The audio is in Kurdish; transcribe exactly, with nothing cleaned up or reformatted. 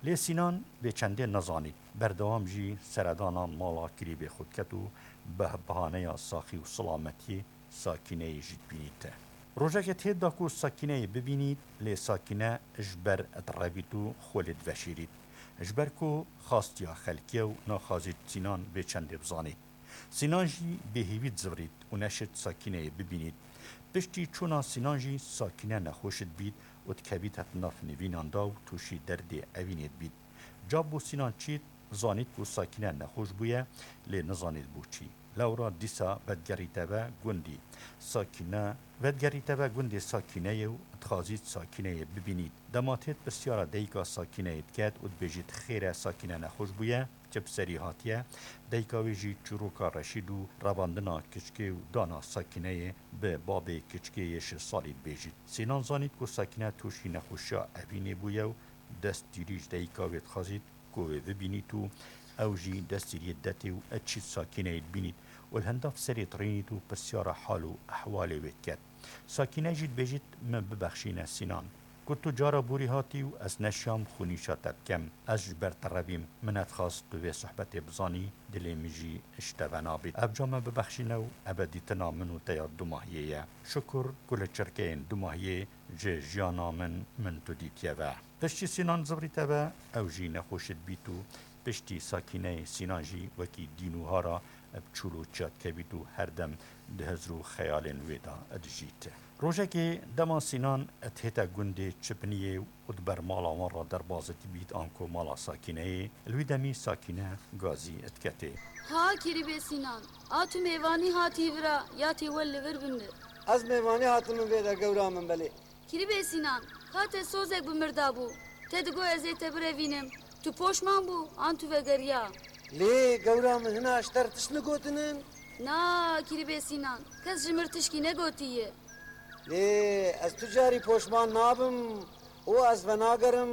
Lê Sînan bêçendê nezanît. Berdewam jî seredana mala kirîbê xwe diket û bi bihaneya saxî û silametiyê Sakîneyê jî dibînît. Rojekê têt da ku Sakîneyê bibînît, lê Sakîne ji ber direvît û xwe lê diveşêrît. Ji ber ku xastiya xelkê ye û naxwazît Sînan bêçendê bizanît. Sînan jî bêhêvî dizivirît û neşit Sakîneyê bibînît. Piştî çûna Sînan jî Sakîne nexweş dibît û dikevît hev nav nivînan da û tûşî derdê evînê dibît. Ca bû Sînan çît, zanît ku Sakîne nexweş bûye, lê nizanît bo çî. Lewra dîsa vedigerîte ve gundî. Sakîne, vedigerîte ve gundê Sakîneyê û dixwazît Sakîneyê bibînît. Dema têt pirsyara dayika Sakîneyê diket û dibêjît, xêr e, Sakîne nexweş bûye, çi bi serî hatiye? Dayika wê jî çîroka Reşîd û revandina kiçkê û dana Sakîneyê bi babê kiçkê yê şeş salî dibêjît. Sînan zanît ku Sakîne tûşî nexweşiya evînê bûye û destgîrî ji dayika wê dixwazît ku wê bibînît û ew jî destgîriyê detê û çît Sakîneyê dibînît û li hindav serê dirînît û pirsyara hal û ehwalê wê diket. Sakîne jî dibêjît, min bibexşîne Sînan. Ku tu cara borî hatî û ez neşiyam xwe nîşa te bikem. Ez ji ber te revîm, min nedixwast tu vê sohbetê bizanî, dilê min jî ji te ve nabît. Ev ca me bibexşîne û eve dîtina min û te ya dumahiyê ye. Şukur ku li çirkeyên dumahiyê ji jiyana min, min tu dîtiye ve. Piştî Sînan zivirîte ve, ew jî nexweş dibît û piştî Sakîneyê Sînan jî wekî dîn û hara bi çûl û çiya dikevît û her dem di hizr û xeyalên wê de dijît. Rojekê dema Sînan dihête gundê Çipiniyê û di ber mala wan re derbas dibît anku mala Sakîneyê, li wî demî Sakîne gazî diketê. Ha kirîbê Sînan, a tu mêvanî hatî vira ya tê wel li vir bimir? Ez mêvanî hatime vê de, gewra min, belê. Kirîbê Sînan, ka te sozek bi mir dabû, te digot ez ê te birevînim. Tu poşman bû, an tu vegeriya? Lê gewra min, hina ji te re tişt min gotinin? Na, kirîbê Sînan, kes ji mir tişkî negotiye. Lê ez tu carî poşman nabim û ez venagerim